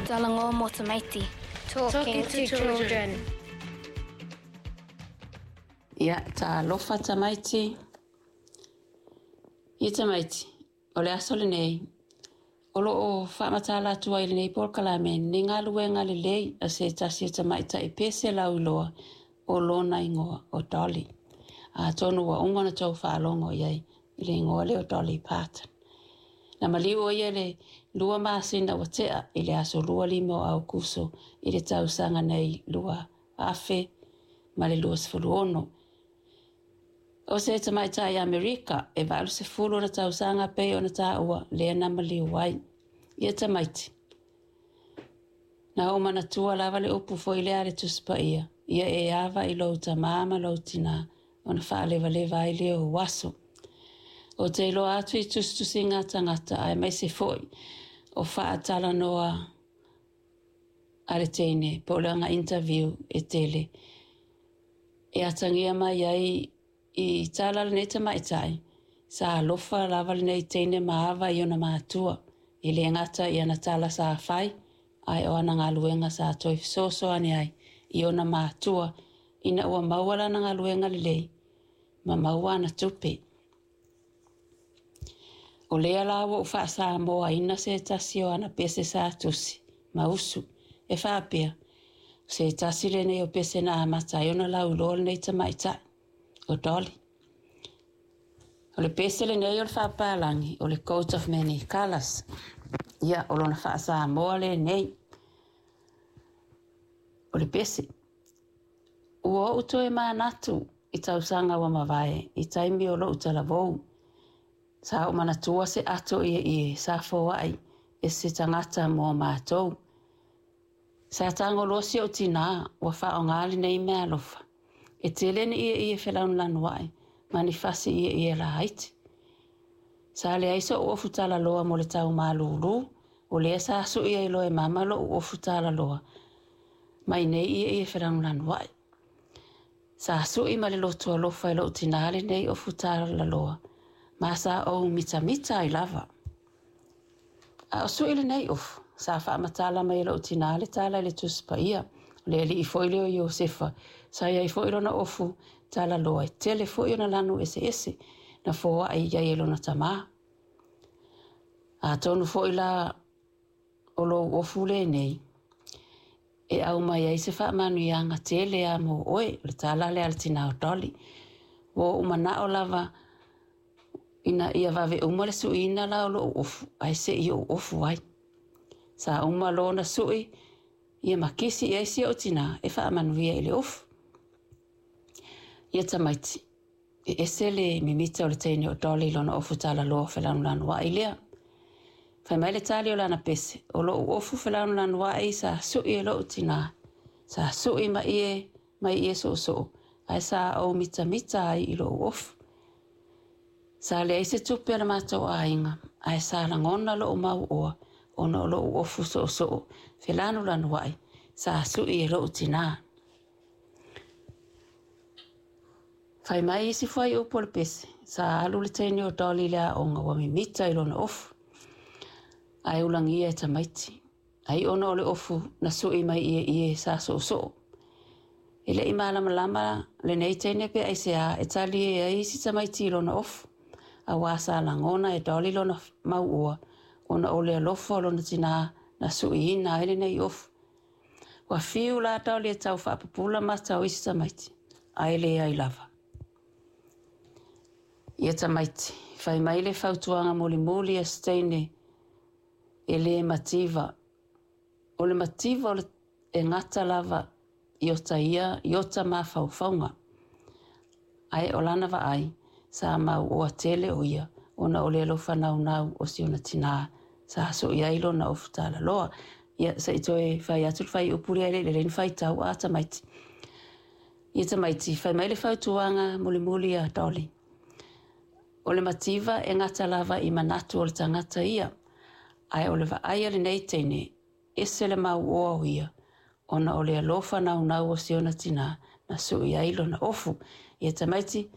Talanoa mo tamaiti. Talking to children. Ia, talofa tamaiti. Ia tamaiti, o le aso lenei, o lo o faamatala atu ai i lenei polokalame ni galuega lelei a se tasi o tamaitai pese lauiloa o lona igoa o Dolly. Atonu ua uma ona tou faalogo i ai i le igoa lea o Dolly Parton. Na maliu ʻo ia i le 2 masina ua tea i le aso 25 o Aokuso i le tausaga nei 2026. O se tamaitai Amerika e 80 ona tausaga pei ona taua lea na maliu ai. Ia tamaiti, na ou manatua lava le upu foi lea a le Tusi Paia, ia e ava i lou tamā ma lou tinā, ona faalevaleva ai lea o ou aso. Ou te iloa atu i tusitusiga a tagata aemaise foi o faatalanoa a le teine po o le aga interview e tele e atagia mai ai i tala a lenei tamaitai, sa alofa lava lenei teine ma ava i ona matua, e le gata i ana tala sa fai, ae o ana galuega sa toe fesoasoani ai i ona matua ina ua maua lana galuega lelei ma maua ana tupe. O lea la ua ou faa-Samoaina se tasi o ana pese sa tusi ma usu e faapea, o se tasi lenei o pese na amata ai ona lauiloa lenei tamaitai, o Dolly. O le pese lenei o le faapalagi, o le Coat of Many Colours. Ia, o lona faa-Samoa lenei. O le pese, ua ou toe manatu i tausaga ua mavae i taimi o lou talavou. Sa ou manatua se ato ieie sa foai e se tagata mo matou. Sa tago loa si ou tinā ua faaaoga lenei meaalofa. E tele ni ieie felanulanuai ma ni fasi ieie laiti. Sa leai so'u ofu talaloa mo le tau malūlū, o lea sa su'i ai loa e mama lo'u ofu talaloa mai nei ieie felanulanuai. Sa su'i ma le loto alofa e lo'u tinā lenei ofu talaloa, ma sa ou mitamita ai lava. A o su'i lenei ofu, sa faamatala mai e lo'u tinā le tala i le Tusi Paia, o le alii foi lea o Iosefa, sa i ai foi lona ofu talaloa, e tele foi ona lanu eseese na foai i ai e lona tamā. Atonu foi la o lou ofu lenei e aumai ai se faamanuiaga tele lava mo oe, o le tala lea a le tinā o Dolly. Ua ou manao lava ina ia vave uma le suiina la o lou ofu, ae se i ou ofu ai. Sa uma loa ona sui, ia ma kisi i ai si ou tinā e faamanuia i le ofu. Ia tamaiti, e ese le mimita o le teine o Dolly i lona ofu talaloa felanulanuai lea. Fai mai le tali o lana pese, o lou ofu felanulanuai sa sui e lou tinā, sa sui ma ie mai ie soosoo, ae sa ou mitamita ai i lou ofu. Sa leai se tupe a le matou aiga, ae sa lagona lou mauoa ona o lou ofu soosoo felanulanuai sa sui e lou tinā. Fai mai isi fuaiupu o le pese, sa alu le teine o Dolly i le aoga ua mimita i lona ofu, ae ulagia e tamaiti. Ai ona o le ofu na sui mai ieie sa soosoo. E le i malamalama lenei teine pe aisea e talie ai isi tamaiti i lona ofu, auā sa lagona e Dolly lona mauoa ona o le alofa o lona tinā na suiina ai lenei ofu. Ua fiu la Dolly e tau faapupula mata o isi tamaiti, ae leai lava. Ia tamaiti, fai mai le fautuaga mulimuli a se teine e le mativa. O le mativa o le e gata lava i ota ia i ota mafaufauga. Ae o lana vaai, sa mauoa tele o ia ona o le alofa naunau o si ona tinā sa sui ai lona ofu talaloa. Ia, se i toe fai atu le fuaiupu lea e le i lelei ona faitau a tamaiti. Ia tamaiti, fai mai le fautuaga mulimuli a Dolly. O le mativa e gata lava i manatu o le tagata ia, ae o le vaai a lenei teine, ese le mauoa o ia, ona o le alofa naunau o si ona tinā na sui ai lona ofu. Ia tamaiti,